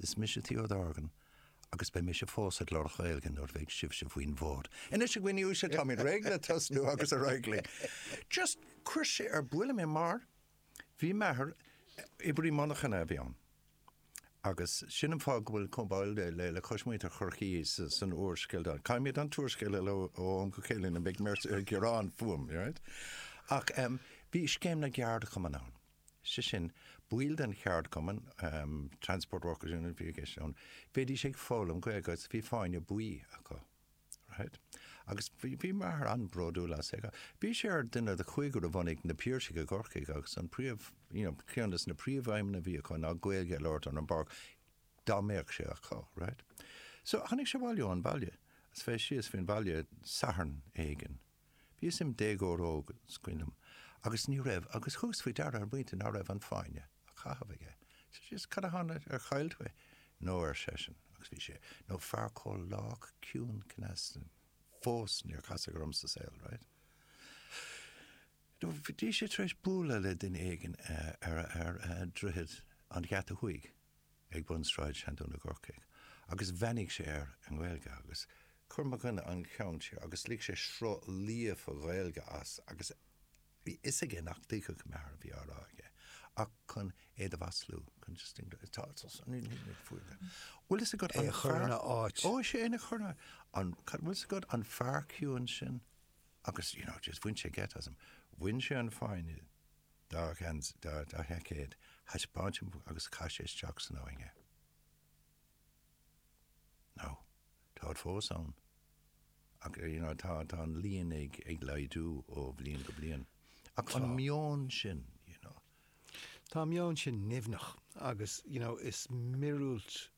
Is mise Theo Dorgan agus beidh mise fós ag labhairt Gaeilge nuair a bheidh sibhse faoin bhfód. Anois a dhaoine uaisle, táimid réidh le tosnú agus ar aghaidh linn. Just chuir sé ar buile mé mar bhí m'athair, oibrí monarchana a bhí ann agus sin an fáth go bhfuil comhbhail le le cois muintir Chorcaí san úrscéal. Caithfimid an t-úrscéal a léamh ó am go chéile nó beidh mé ag gearán fúm, right? Ach bhí scéim na gceardchumann ann. Sé sin, baill den cheardchumann, Transport Workers Union a bhí i gceist ann, bhídís ag foghlaim Gaeilge agus bhí fáinne buí acu. Right? Agus bhí, bhí m'athair an-bhródúil as é. Bhí sé ar duine de chúigear a bhunaigh Na Piarsaigh i gCorcaigh agus an príomh, you know, ceann de na príomhaidhmeanna a bhí acu ná Gaeilge a labhairt ar an bpáirc dá mbeadh sé acu, right? So tháinig sé abhaile ón bhaile agus bhí síos faoin bhaile Satharn éigin. Bhíos im déagóir óg, is cuimhin liom, agus ní raibh, agus thugas faoi deara ar an bpointe ná raibh an fáinne á chaitheamh aige. So just, cad a tharla, ar chaill tú é? No, ar seisean, agus bhí sé, nó fear chomh lách ciúin cneasta fós níor casadh orm sa saol, right? No, bhí sé tar éis bualadh le duine éigin ar, ar Droichead an Gheata Thuaidh. ag bun Sráid Seandún i gCorcaigh agus bheannaigh sé air i nGaeilge agus chuir mo dhuine an ceann siar agus lig sé sruth líofa Gaeilge as agus bhí fhios aige nach dtuigfeadh m'athair a bhí á rá aige ach chun é do mhaslú, chun just tá Bhfuil fhios agat an fear ina áit. Ó sé ina chur ina an bhfuil fhios agat an fear ciúin sin agus you know just bhain sé geit asam. Bhain sé an fáinne dá sheaicéad, thaispeáin sé agus chaith sé isteach san abhainn é. Now, táid fós ann ach you know tá tá an líon ag ag laghdú ó bhliain go bliain. Ach an meon sin, you know. Tá an meon sin nimhneach agus you know is míorúilt.